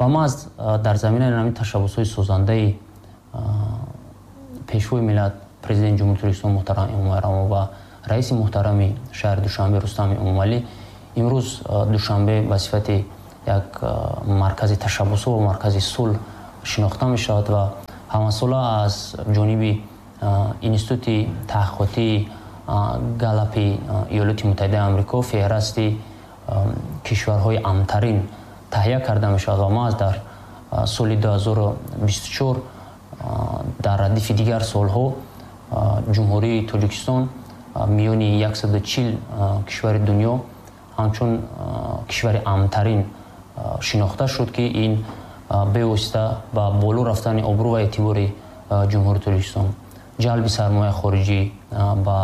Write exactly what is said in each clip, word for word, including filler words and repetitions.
Ва маҳз дар заминаи ҳамин ташаббусҳои созандаи Пешвои миллат, Президенти Ҷумҳурии Тоҷикистон муҳтарам Эмомалӣ Раҳмон ва раиси муҳтарами шаҳри Душанбе Рустам Эмомалӣ, имрӯз Душанбе ба сифати як маркази ташаббусҳо ва маркази сулҳ шинохта мешавад ва ҳамасола аз ҷониби Институти таҳқиқотии Галлапи Иёлоти Муттаҳидаи Амрико феҳрасти кишварҳои амнтарин таҳия карда мешавад ва маҳз дар соли ду ҳазору бисту чор дар радифи дигар солҳо Ҷумҳурии Тоҷикистон миёни яксаду чил кишвари дунё ҳамчун кишвари амнтарин шинохта шуд, ки ин бевосита ба боло рафтани обрӯ ва эътибори Ҷумҳурии Тоҷикистон, ҷалби сармояи хориҷӣ ба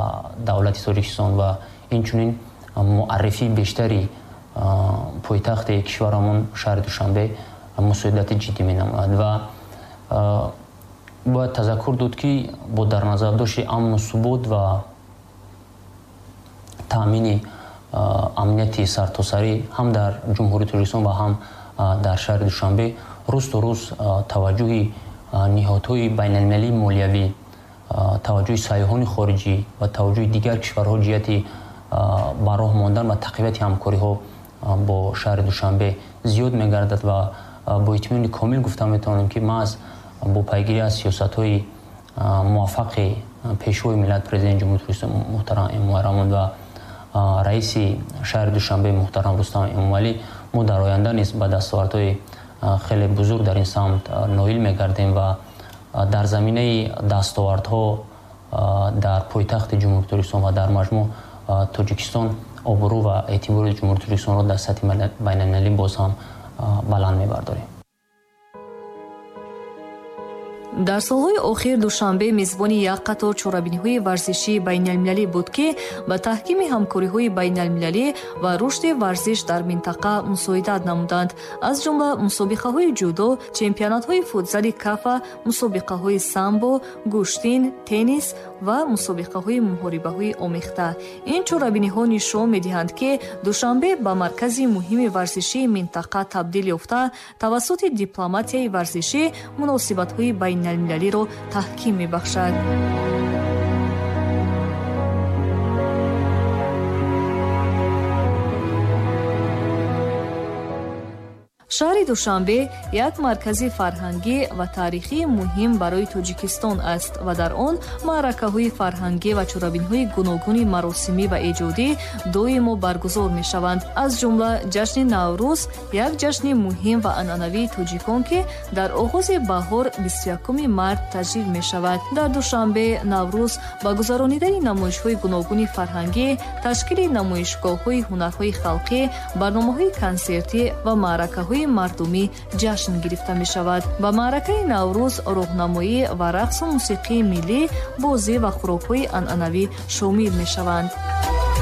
давлати Тоҷикистон ва инчунин муаррифии бештари пойтахти кишварамон шаҳри Душанбе мусоидати ҷиддӣ менамояд. Ва бояд тазаккур дод, ки бо дар назардошти амну субот ва таъмини амнияти сартосарӣ ҳам дар Ҷумҳурии Тоҷикистон ва ҳам дар шаҳри Душанбе рӯз то рӯз таваҷҷӯҳи ниҳодҳои байналмилалии молиявӣ, таваҷҷӯҳи сайёҳони хориҷӣ ва таваҷҷӯҳи дигар кишварҳо ҷиҳати ба роҳ мондан ва тақвияти ҳамкориҳо бо шаҳри Душанбе зиёд мегардад ва бо итминони комил гуфта метавонем, ки маҳз бо пайгирӣ аз сиёсатҳои муваффақи Пешвои миллат, Президенти Ҷумҳурии Тоҷикистон муҳтарам Эмомалӣ Раҳмон ва раиси шаҳри Душанбе муҳтарам Рустам Эмомалӣ, мо дар оянда низ ба дастовардҳои хеле бузург дар ин самт ноил мегардем ва дар заминаи дастовардҳо дар пойтахти Ҷумҳурии Тоҷикистон ва дар маҷмӯъ Тоҷикистон обрӯ ва эътибори Ҷумҳурии Тоҷикистонро дар сатҳи байналмилалӣ боз ҳам баланд мебардорем. Дар солҳои охир Душанбе мизбони як қатор чорабиниҳои варзишии байналмилалӣ буд, ки ба таҳкими ҳамкориҳои байналмилалӣ ва рушди варзиш дар минтақа мусоидат намуданд. Аз ҷумла мусобиқаҳои ҷудо, чемпионатҳои футзали кафа, мусобиқаҳои самбо, гӯштин, теннис ва мусобиқаҳои муҳорибаҳои омехта. Ин чорабиниҳо нишон медиҳанд, ки Душанбе ба маркази муҳими варзишии минтақа табдил ёфта, тавассути дипломатияи варзишӣ муносибатҳои байналмилалиро таҳким мебахшад. Шаҳри Душанбе як маркази фарҳангӣ ва таърихии муҳим барои Тоҷикистон аст ва дар он маъракаҳои фарҳангӣ ва чорабиниҳои гуногуни маросимӣ ва эҷодӣ доимо баргузор мешаванд. Аз ҷумла ҷашни Наврӯз як ҷашни муҳим ва анъанавии тоҷикон, ки дар оғози баҳор бисту якуми март таҷлил мешавад. Дар Душанбе Наврӯз ба гузаронидани намоишҳои гуногуни фарҳангӣ, ташкили намоишгоҳҳои ҳунарҳои халқӣ, барномаҳои консертӣ ва маъракаҳои мардумӣ ҷашн гирифта мешавад. Ба маъракаи Наврӯз роҳнамоӣ ва рақсу мусиқии миллӣ, бозӣ ва хӯрокҳои анъанавӣ шомил мешаванд.